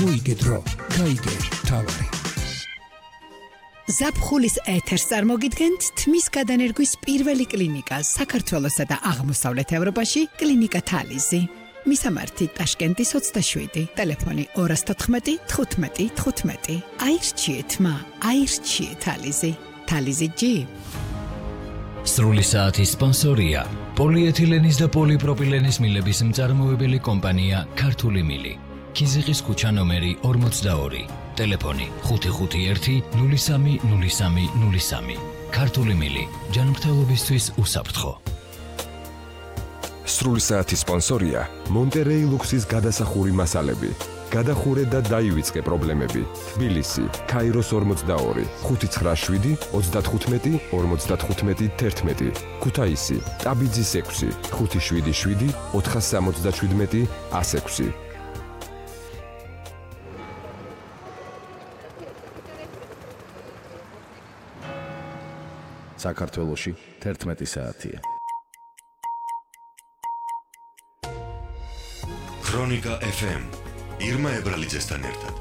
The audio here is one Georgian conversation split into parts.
მოიგე დრო, გაიგე თავარი. ზაფხულის ეთერს წარმოგიდგენთ თმის გადანერგვის პირველი კლინიკა საქართველოსა და აღმოსავლეთ ევროპაში კლინიკა თალიზი. მისამართი ტაშკენტის 27, ტელეფონი 214 15 15. აირჩიეთ მა, აირჩიეთ თალიზი. თალიზი G. სრული საათის სპონსორია პოლიეთილენის და პოლიპროპილენის მილების მწარმოებელი კომპანია ქართული მილი. ქიზიყის ქუჩა ნომერი 42, ტელეფონი 551 03 03 03. ქართული მილი, ჯანმრთელობისთვის უსაფრთხო. სრული საათის სპონსორია მონტერეი ლუქსის გადასახური მასალები. გადახურე და დაივიწყე პრობლემები. თბილისი, ქაიროს 42, 597 35 55 11. ქუთაისი, ტაბიძის 6, 577 477 106. საქართველოში 11 საათია. ქრონიკა FM ირმა ებრალიძესთან ერთად.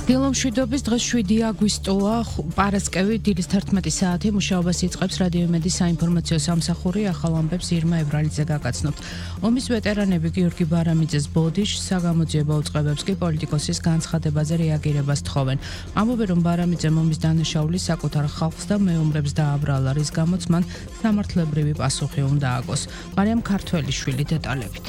დილომშვიდობის დღეს 7 აგვისტოა, პარასკევი, დილის 11 საათი. მუშაობას იწყებს რადიო იმედის საინფორმაციო სამსახური. ახალ ამბებს ირმა ებრალიძე გაგაცნობთ. ომის ვეტერანები გიორგი ბარამიძეს ბოდიშს, საგამოძიებო უწყებებს კი პოლიტიკოსის განცხადებაზე რეაგირებას თხოვენ. ამბობენ, რომ ბარამიძემ ომის დანაშაულის საკუთარ ხალხს და მეომრებს დააბრალა, რის გამოც მან სამართლებრივი პასუხი უნდა აგოს. მარიამ ქართველიშვილი დეტალებით.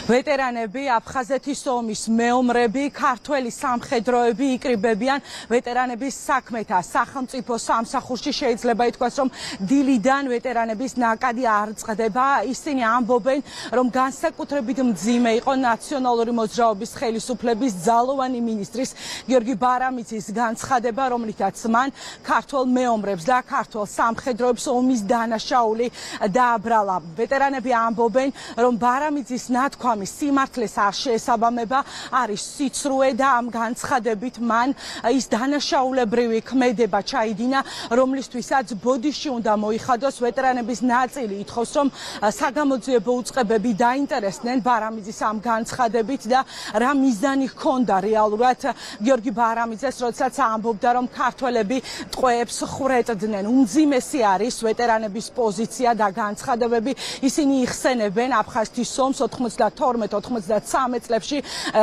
ვეტერანები, აფხაზეთის ომის მეომრები, ქართველი სამხედროები იკრიბებიან ვეტერანების საქმეთა სახელმწიფო სამსახურში. შეიძლება ითქვას, რომ დილიდან ვეტერანების ნაკადი არ წყდება. ისინი ამბობენ, რომ განსაკუთრებით მძიმე იყო ნაციონალური მოძრაობის ხელისუფლების ძალოვანი მინისტრის გიორგი ბარამიძის განცხადება, რომლითაც მან ქართველ მეომრებს და ქართველ სამხედროებს ომის დანაშაული დააბრალა. ვეტერანები ამბობენ, რომ ბარამიძის ნათქვამი სიმართლეს არ შეესაბამება, არის სიცრუე და ამ განცხადებით მან ის დანაშაულებრივი ქმედება ჩაიდინა, რომლისთვისაც ბოდიში უნდა მოიხადოს. ვეტერანების ნაწილი ითხოვს, რომ საგამოძიებო უწყებები დაინტერესდნენ ბარამიძის ამ განცხადებით და რა მიზანი ჰქონდა რეალურად გიორგი ბარამიძეს, როდესაც ამბობდა, რომ ქართველები ტყვეებს ხრეტდნენ. უმძიმესი არის ვეტერანების პოზიცია და განცხადებები. ისინი იხსენებენ აფხაზეთის ომს 92-93 წლებში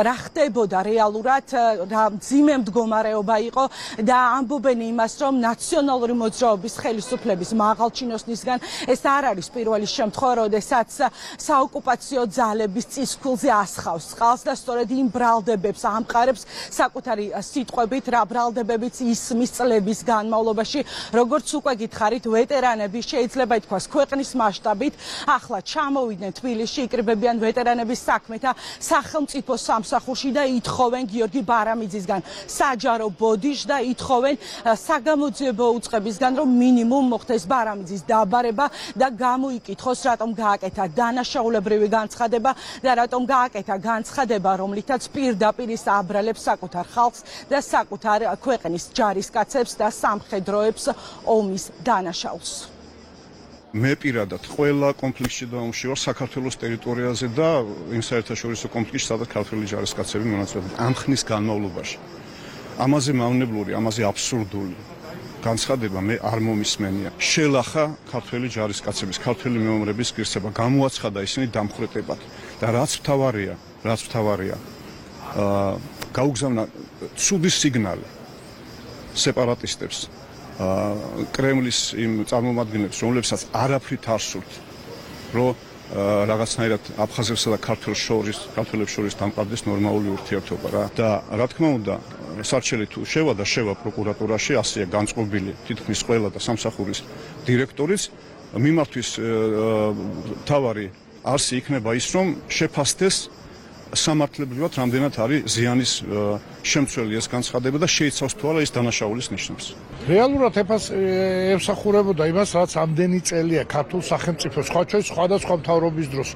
რა ხდებოდა რეალურად, რა მძიმე მდგომარეობა იყო და ამბობენ იმას, რომ ნაციონალური მოძრაობის ხელისუფლების მაღალჩინოსნისგან ეს არ არის პირველი შემთხვევა, როდესაც საოკუპაციო ძალების წისქვილზე ასხავს წყალს და სწორედ იმ ბრალდებებს ამყარებს საკუთარი სიტყვებით, რა ბრალდებებიც ისმის წლების განმავლობაში. როგორც უკვე გითხარით, ვეტერანები შეიძლება ითქვას ქვეყნის მასშტაბით ახლა ჩამოვიდნენ თბილისში, იკრიბებიან ვეტერანების საქმეთა სახელმწიფო სამსახურში და ითხოვენ გიორგი ბარამიძისგან საჯარო ბოდიშს და ითხოვენ საგამოძიებო უწყებისგან, რომ მინიმუმ მოხდეს ბარამიძის დაბარება და გამოიკითხოს, რატომ გააკეთა დანაშაულებრივი განცხადება და რატომ გააკეთა განცხადება, რომლითაც პირდაპირ ის აბრალებს საკუთარ ხალხს და საკუთარ ქვეყნის ჯარისკაცებს და სამხედროებს ომის დანაშაულს. მე პირადად ყველა კონფლიქტში და ომში ვარ საქართველოს ტერიტორიაზე და იმ საერთაშორისო კონფლიქტში, სადაც ქართველი ჯარისკაცები მონაწილეობენ ამ ხნის განმავლობაში. ამაზე მავნებლური, ამაზე აბსურდული განცხადება მე არ მომისმენია. შელახა ქართველი ჯარისკაცების, ქართველი მეომრების ღირსება, გამოაცხადა ისინი დამხვრეტებად და რაც მთავარია, გაუგზავნა ცუდი სიგნალი სეპარატისტებს, კრემლის იმ წარმომადგენლებს, რომლებსაც არაფრით არ სურთ, რომ რაღაცნაირად აფხაზებსა და ქართველებს შორის დამყარდეს ნორმალური ურთიერთობა რა. და რა თქმა უნდა, სარჩელი თუ შევა პროკურატურაში, ასეა განწყობილი თითქმის ყველა და სამსახურის დირექტორიც, მიმართვის თავარი არსი იქნება ის, რომ შეფასდეს სამართლებრივად რამდენად არის ზიანის შემცველი ეს განცხადება და შეიცავს თუ არა ის დანაშაულის ნიშნებს. რეალურად ემსახურებოდა იმას, რაც ამდენი წელია ქართულ სახელმწიფოს, სხვადასხვა მთავრობის დროს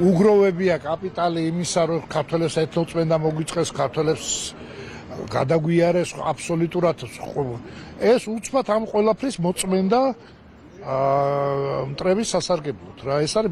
უგროვებია კაპიტალი იმისა, რომ ქართველებს ეთნოწმენდა მოგვიწყეს, ქართველებს გადაგვიარეს აბსოლუტურად. ეს უცბად ამ ყველაფრის მოწმენდა მტრების სასარგებლოდ რა. ეს არის